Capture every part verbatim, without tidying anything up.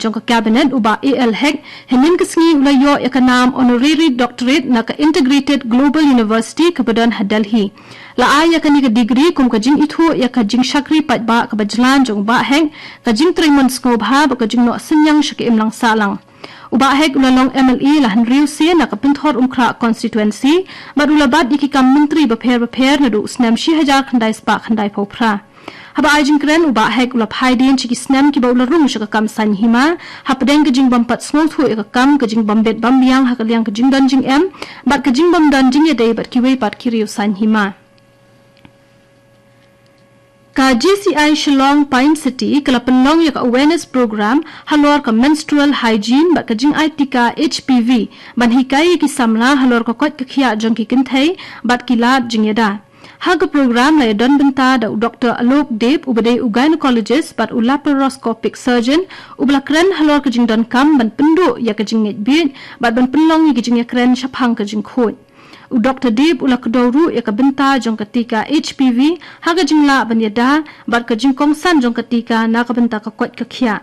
jong ka Cabinet u Bah A L Hek, hynnin ka sngi u la ïoh ïa ka nam Honorary Doctorate na ka Integrated Global University kaba don ha Delhi. La ai ïa kane ka degree kum ka jingithuh ïa ka jingshakri paidbah kaba jlan jong u Bah Hek, ka jingtrei mon sngewbha bad ka jingnoh synñiang sha ka imlang sahlang. U Bah Hek u la long M L A la hynriew sien na ka Pynthor Umkhrah constituency, bad u la bat ïa ki kam myntri bapher bapher naduh u snem shi hajar khyndai spah khyndai phew phra. Haba ai jingkren u Bah Hek u la phai dien sha ki snem kiba u la rung sha ka kam saiñ hima, hapdeng ka jingbym pat sngewthuh ïa ka kam, ka jingbym bit bym biang ha ka liang ka jingdon jingem, bad ka jingbym don jingïadei bad kiwei pat ki riew saiñ hima. Ka G C I Shillong Pine City ka la pynlong ïa ka awareness program halor ka menstrual hygiene bad ka jingai tika H P V, ban hikai ïa ki samla halor ka koit ka khiah jong ki kynthei bad ki lad jingïada. Ha ka program la ïadon bynta da u Doctor Alok Deb, uba dei u gynecologist bad u laparoscopic surgeon, uba la kren halor ka jingdonkam ban pynduh ïa ka jingngeit bieit bad ban pynlong ïa ka jingïakren shaphang ka jingkhuid. U Doctor Deb u la kdew ruh ïa ka bynta jong ka tika H P V ha ka jinglah ban ïada bad ka jingkongsan jong ka tika na ka bynta ka koit ka khiah.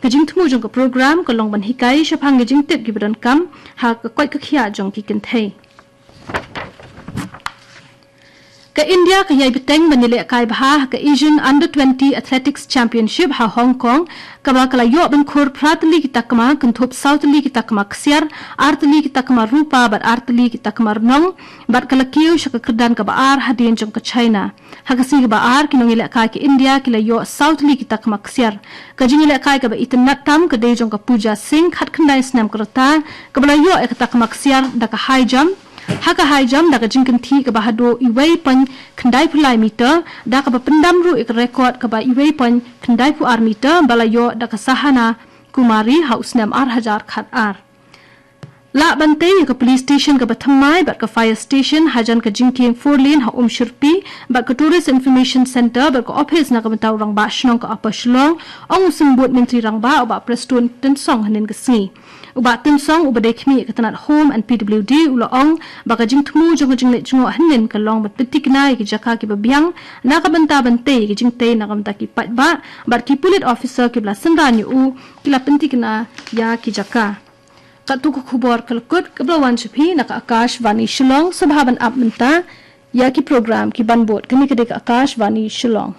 Ka jingthmu jong ka program ka long ban hikai shaphang ka jingtip kiba donkam ha ka koit ka khiah jong ki kynthei. Ka India ka ïai bteng ban ïalehkai bha ha ka Asian Under twenty Athletics Championship ha Hong Kong, kaba ka la ïoh ban khur phra tylli ki takma, kynthup saw tylli ki takma ksiar, ar tylli ki takma rupa bad ar tylli ki takma rnong, bad ka la kiew sha ka kyrdan kaba ar hadien jong ka China. Ha ka sngi kaba ar, ki nongïalehkai ka India ki la ïoh saw tylli ki takma ksiar. Ka jingïalehkai kaba itynnad tam ka dei jong ka Pooja Singh, khatkhyndai snem ka rta, kaba la ïoh ïa ka takma ksiar da ka high jump, ha ka high jump da ka jingkynthih kaba haduh iwei point khyndai phew lai meter, da kaba pyndam ruh ïa ka record kaba iwei point khyndai phew ar meter ba la ïoh da ka Sahana Kumari ha u snem ar hajar khatar. Lah ban tei ïa ka police station kaba thymmai bad ka fire station hajan ka jingkieng four lane ha Umshyrpi, bad ka Tourist Information Centre bad ka office na ka bynta u Rangbah Shnong ka Upper Shillong, ong u Symbud Myntri Rangbah u Bah Prestone Tynsong hynnin ka sngi. U Bah Tynsong, uba dei khmih ka tnat Home and P W D, u la ong ba ka jingthmu jong ka jingleit jngoh hynnin ka long ban pyntikna ïa ki jaka kiba biang na ka bynta ban tei ïa ki jingtei na ka bynta ki paidbah, bad ki pulit officer kiba la synran ïa u ki la pyntikna ïa ki jaka. Katto ka khubor ka la kut, kaba la wan sha phi na ka Akashvani Shillong. Sngewbha ban ap mynta ïa ki program kiban bud. Kane ka dei ka Akashvani Shillong.